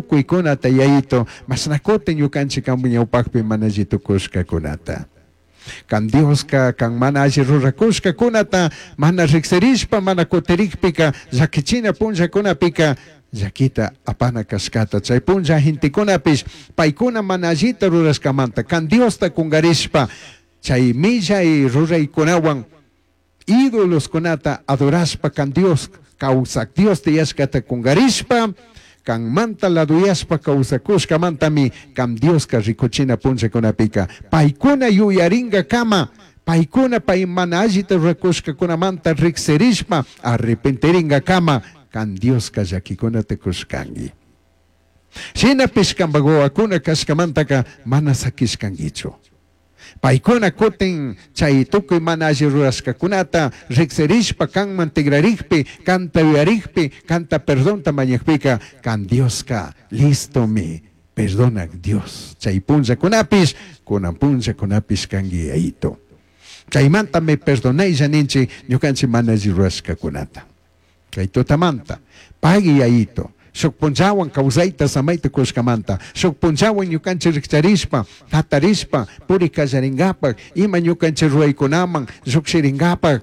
Tucuicunata Yayito, mashna cutin ñucanchij cambaj ñaupajpi mana alli tucushcacunata. Can Diosca can mana alli ruracushcacunata mana rijsirishpa mana cutirijpica llaquichina punllacunapica llaquita apana cashcata. Chai punlla gentecunapish paicuna mana allita rurashcamanta can Diosta cungarishpa chai millai ruraicunahuan idoloscunata adorashpa can Dios causaj Dios tiyashcata cungarishpa canmanta laduyashpa causacushcamantami can Diosca ricuchina punllacunapica paicuna yuyaringacama paicuna pai mana allita ruracushcacunamanta rijsirishpa arrepentiringacama can Diosca llaquicunata cushcangui. Shinapish cambaj huahuacuna cashcamantaca mana saquishcanguichu. Paicuna cutin chai tucui mana alli rurashcacunata rijsirishpa canman tigrarijpi, canta yuyarijpi, canta perdonta mañajpica, can Diosca listomi perdonaj Dios. Chai punllacunapish, cunan punllacunapish cangui Yayito. Chaimantami perdonaylla ninchij ñucanchij mana alli rurashcacunata. Cai tutamanta, pagui Yayito, shuj punllahuan causaita samaita cushcamanta, shuj punllahuan ñucanchij rijcharishpa, jatarishpa, puri callaringapaj, ima ñucanchij ruraicunaman llujshiringapaj,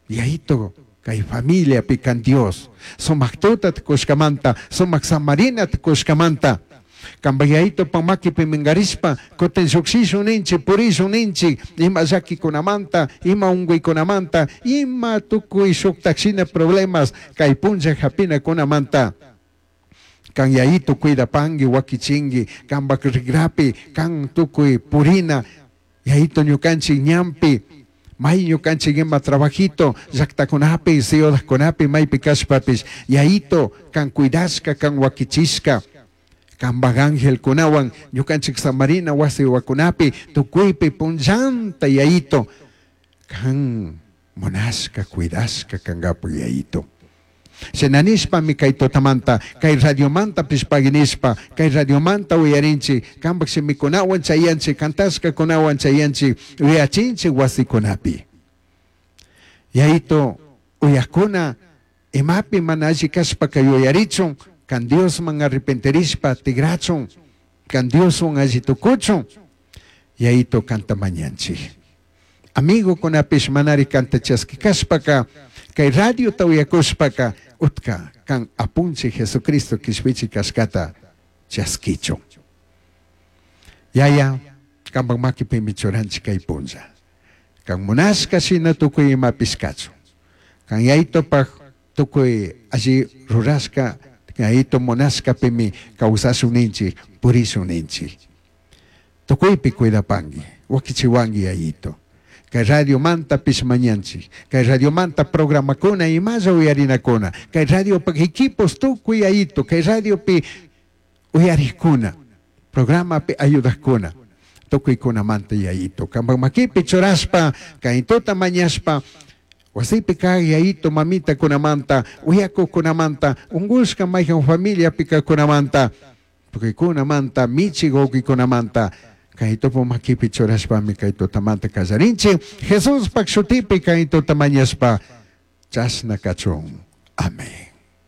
Yayito, cai familiapi can Dios, sumaj tutata cushcamanta, sumaj samarinata cushcamanta, cambaj Yayitopa maquipi mingarishpa, cutin llujshishun ninchij, purishun ninchij, ima llaquicunamanta, ima ungüicunamanta, ima tucui shujtaj shina problemas cai punlla japinacunamanta. Can Yayito cuidapangui, huaquichingui, cambaj rigrapi, can tucui purina, Yayito ñucanchij ñanpi, may ñucanchij ima trabajito, llajtacunapi, ciudadcunapi, maipi cashpapish, Yayito, can cuidashca, can huaquichishca, cambaj angelcunahuan ñucanchij samarina huasi huacunapi, tucuipi punllanta Yayito, can munashca, cuidashca cangapaj Yayito. Shina nishpami cai tutamanta, cai radiomantapish pagui nishpa, cai radiomanta uyarinchij, cambaj shimicunahuan chayanchij, cantashcacunahuan chayanchij, uyachinchij huasicunapi. Yayito, uyajcuna imapi mana alli cashpaca yuyarichun, can Diosman arrepentirishpa tigrachun, can Dioshuan alli tucuchun, Yayito canta mañanchij. Amigocunapish manari canta chasqui cashpaca, cai radiota uyacushpaca, utca can Apunchij Jesucristo quishpichi cashcata chasquichun. Yaya, cambaj maquipimi churanchij cai punlla. Can munashca shina tucui imapish cachun. Can Yayitopaj tucui alli rurashca, Yayito munashcapimi causashun ninchij, purishun ninchij. Tucuipi cuidapangui, huaquichihuangui Yayito. Cai radiomantapish mañanchij, cai radiomanta programacuna imalla uyarinacuna, cai radiopaj equipos tucui Yayito, cai radiopi uyarijcuna, programapi ayudajcuna, tucuicunamanta Yayito. Cambaj maquipi churashpa, cai tuta mañashpa, huasipi caj Yayito mamitacunamanta, uyacujcunamanta, ungushca maijan familiapi cajcunamanta, tucuicunamanta, michi huauquicunamanta, cai tupu maquipi churashpami cai tutamanta callarinchij. Jesuspaj shutipi cai tuta mañashpa, chashna cachun. Amén.